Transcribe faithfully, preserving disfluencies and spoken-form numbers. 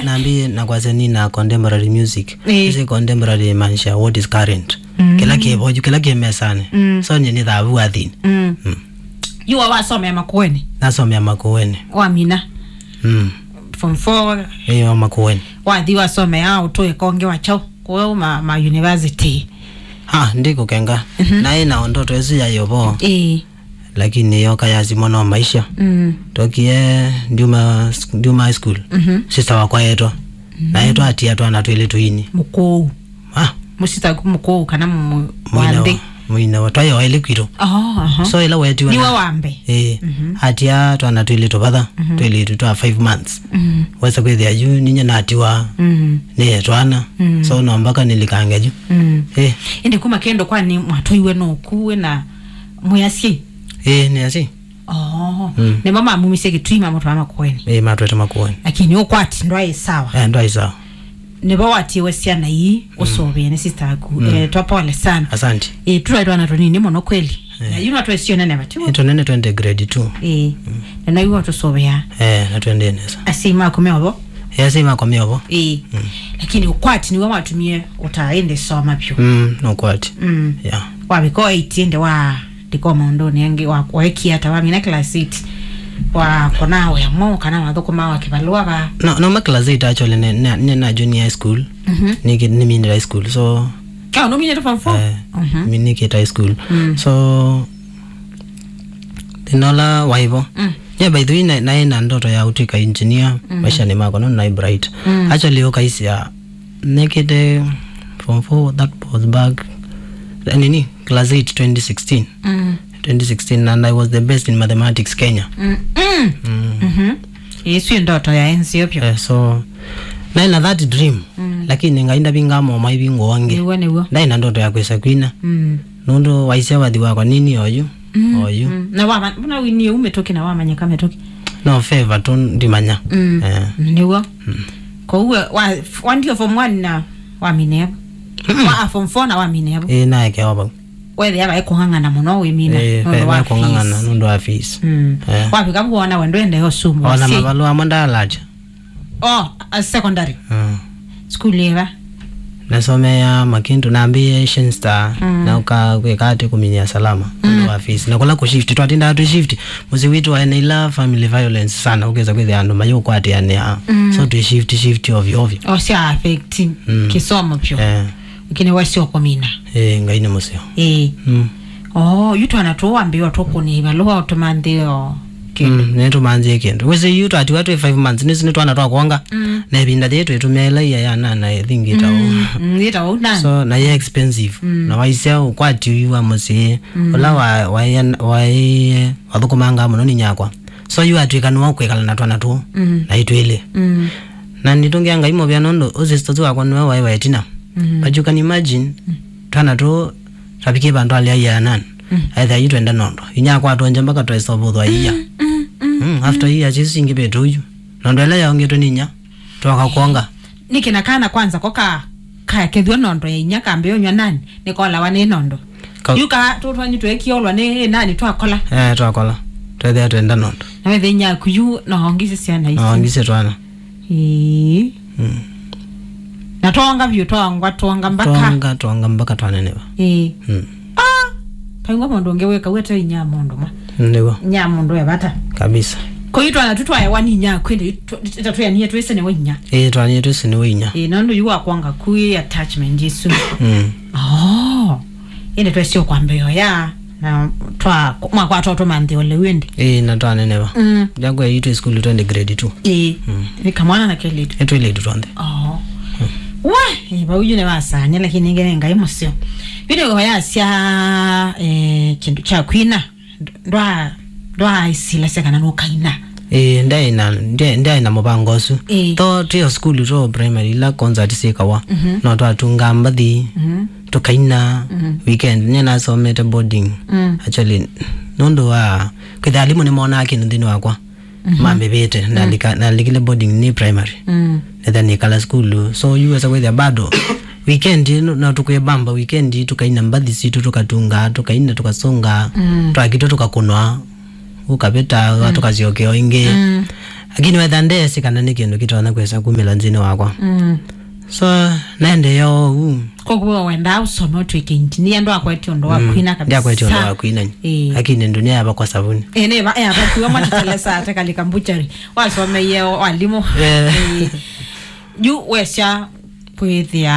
Nambĩĩe na kwasya nĩ na contemporary music. Ĩĩ. Ĩsĩ contemporary ĩmaanisha what is current. Mm. Kĩla kĩ vo yu, kĩla kĩ mesanĩ. Mm. So nyie nĩ thavu wa thĩnĩ. Mm. Mm. Yu wa wasomea Makueni? Nasomea Makueni. Wamina? Mm. Form four? Ĩĩ, wa Makueni. Wathi wasomea ũtũĩka ũngĩ wa kyaũ? Kũu ma, ma university. Ha, ndikũkenga. Mhm. Naĩ na ndoto ĩsu ya yovo. Ĩĩ. Lakini yoka yasimwa no maisha. Mm. Tokie ndiuma, ndiuma high school. Mhm. Sister wakwa etwa. Mm. Na etwa atia twana twĩlĩ tũini. Mũkũũ. Ah. Mũsitaku mũkũũ kana mũ-, mũine wa nthĩ? Mũine wa, twaĩ o elĩ kwitũ. Oh, aha. So ĩla wetiwe niwe na wa mbee. Ĩĩ. Mhm. Atia twana twĩlĩ tũvatha, mhm, twĩlĩ tũ twa five months. Mhm. Wesa kwĩthĩa yu, ninya natiwa, mhm, nĩ twana. Mhm. So no mpaka nilikange yu. Mhm. Ĩĩ. Ĩndĩ kuma kĩndũ kwani mwatwaiwe no kuwe na mwĩasyi? Ĩĩ, nĩ asyi. Oh. Mm. Nĩmo mamumisye Kĩtui mamũtwaa Makueni. Ĩĩ, matwete Makueni. Lakini ũkwati ndwaĩ sawa. Eh, ndwaĩ sawa. Nĩvo watiwe syana ii, mm, ũsũvĩe nĩ sister aku. Mm. Eh, twa pole sana. Asante. Eh, tũraĩ twana tũnini mũno kweli. Eh. Na yu no twĩsio nene vatiwa. Ĩĩ, tũnene twende grade two. Eh. Mm. Na naiwe tũsũvĩa. Eh, na twende nesa. Asyai maku me ovo? Eh, asyai makwa me ovo. Eh. Mm. Lakini ũkwati nĩwe watumie ũtaa ĩndĩ soma vyũ. Mm, nĩ ũkwati. Mm. Yeah. Wavika o eight ĩndĩ wa ndiko maũndũnĩ angĩ wa, waekie ata wamina class eight? Wa kona wĩa mwaũ kana wathũkũma wa kĩvalũa va? No, no ma class eight actually nĩ, nĩ, nĩ na junior high school. Mhm. Nĩkĩ, nĩminĩte high school. So, oh, nũminĩte form four? Eh, mhm, mi nĩkĩte high school. Mm. So, thĩna ũla waivo. Mm. Yeah, by the way, na, naĩ na ndoto ya ũtwĩka engineer, mm, maishanĩ makwa, no naĩ bright. Mm. Actually, ũkaisya, nĩkĩte form four, that was back, nini, class eight, twenty sixteen. Mm. Twenty sixteen, and I was the best in mathematics Kenya. Mm, mm. Mm. Mhm. Ĩsu ndoto ya enzio pyo. Eh, so, naĩ na that dream, mm, lakini Ngai ndavingaa moma ivingũa ũngĩ. Nĩw'o, nĩw'o. Ndaĩ na ndoto ya kwĩsa kwina. Mm. Nũndũ waisya wathi wakwa nini oyu, mm, oyu. Mm. Na wama-, mbona winie u mĩtũkĩ na wamanyĩka mĩtũkĩ? No favor tu ndimanya. Mm. Eh. Nĩw'o. Mm. Kwoou we, wa, wandio form one na wamine vo? Mm-mm. Wa, a, form four na wamine vo? Ĩĩ, naekewa vau. Wethĩa vaĩ kũng'ang'ana mũno wĩmina, eh, nũndũ ve-, wa ve kũng'ang'ana fees. Nũndũ wa fees. Mm. Eh. Wavika vu wona we ndwendee ũsumbwa. Ona syai. Mavalũa mo ndalacha. Oh, a secondary. Mm. School ĩva? Nasomeea Makindu, nambĩĩe Shenstar, mm, na ũka kwĩka atĩ kũminyia salama, mm, nũndũ wa fees. Na kũla kũshift, twatindaa twĩ shift. Mũsyĩ witũ waĩ na ila family violence sana, ũkesa kwĩthĩa andũ mayũkwatĩanĩa. Mm. So twĩ shift, shift ovyo ovyo. O sya affect, mm, kĩsomo pyo. Eh. Lakini wasi ũkũmina. Eh, Ngai nĩ mũseo. Eh. Mm. Oh, yu twana tũũ wambĩĩwa tũkũnĩa ivalũa ũtũmanthĩe o kĩndũ. Mm, nĩtũmanthĩe kĩndũ. Wĩsĩ yu twatiwa twĩ five months, nĩsĩ nĩ twana twa kwonga. Mm. Na ĩvinda yĩĩ twĩtũmĩa ĩla ia ya nana, I think ĩtawa. Mm, mm, ĩtawa nana. So, na yĩ expensive. Mm. Na waisya ũkwati ũyu wa mũsyĩ, mm, ũla wa, wa, wa, wathũkũmangaa mũno nĩ nyakwa. So, yu atwĩka nĩwe ũkwĩkala na twana tũũ, mm, na itwĩlĩ. Mm. Na nĩtũngĩa Ngai mũvea nũndũ ũ sister ũsu wakwa nĩwe waĩ wa ĩtina. Mm. But you can imagine, mm, twana tũũ twavikie vandũ alea ia ya nana. Mm. Aethĩa yu twenda nondo. Inya akwatwa nje mpaka twaisovũthwa ia. Mm, mm, mm, mm, after mm, ia, Jesu ingĩ vetu uyu. Nondo ĩla yaongetwe nĩ inya, twoka kwonga. Nĩkĩ na kana kwanza ko ka, kakethw'a nondo ya inya kambĩonywa nani, nĩkolawa nĩ nondo. Ka- Yu ka tũtwanyi twekiolwa nĩ nani twakola? Eh, twakola. Twethĩa twenda nondo. Na wethe inya aku yu no ongisi syana ici. No ongisi twana. Ĩĩ. Mm. Na twonga vyũ, twongwa, twonga mpaka. Twonga, twonga mpaka twaneneva. Ĩĩ. Mm. Ah! Kaingwa mũndũ ũngĩ wĩka wete inya mũndũ ma. Nĩw'o. Inya mũndũ e vata. Kabisa. Kwa hiyo twana tu twaewa nĩ inya kwende ĩtatwĩanie twĩse nĩwe inya. Ĩĩ, twanie twĩse nĩwe inya. Ĩĩ, nũndũ yu wakwonga ku ĩ attachment ĩsu. Mm. Oh. Ĩndĩ twesio kwambĩĩa ya na twa mwakwata ũtũmanthĩ ole wĩndĩ. Ĩĩ, na twaneneva. Mm. Jakwa itũ school twende grade two. Ĩĩ. Mm. Nĩ kamwana na kelĩtu. Ĩtwĩlĩtu twonthe. Oh. Mm. Wa, ĩĩ, vau yu nĩ wasanya, lakini nge nĩ Ngai mũseo. Video yasya, eh, kĩndũ kya kwina. Ndwa-, ndwaaisilasya kana nũkaina? Ĩĩ, ndaĩ na, ndaĩ, ndaĩ na mũvango ũsu. Ĩĩ. Tho twĩ o sukulu, tũ primary, ila concert syĩkawa, mhm, no twatungaa mbathi, mhm, tũkaina, mhm, weekend. Nyie nasomete boarding. Mm. Actually, nũndũ wa kwĩthĩa alimũ nĩmonaa kĩndũ nthĩnĩ wakwa, mhm, mamĩvĩte, mm, ndalika-, ndalikile boarding nĩ primary. Mm. Nĩtha nĩkala sukulu. So, yu wesa kwĩthĩa bado weekend no, no tũkwĩbamba, weekend tũkaina mbathi sitũ, tũkatunga, tũkaina, tũkasũnga, mm, twakitwa tũkakũnwa, ũkavĩta, mm, tũkasyokea o ĩngĩ. Mm. Lakini wetha ndeesĩ kana nĩ kĩndũ kĩtonya kwĩsa kumĩla nthĩnĩ wakwa. Mm. So, naendeea ũu. Koguo wendaa ũsome ũtw'ĩke engineer, ndwakwetye ũndũ wa kwina kabisa. Ndiakwetye ũndũ wa kwina. Ĩĩ. Lakini dunia yava kwa savuni. Ĩĩ, nĩ va, ĩĩ, ava kuwa mwatetelesa ate kalika mbuchari. Wasomeie walimu. Eh. Ĩĩ. Yu wesya kwĩthĩa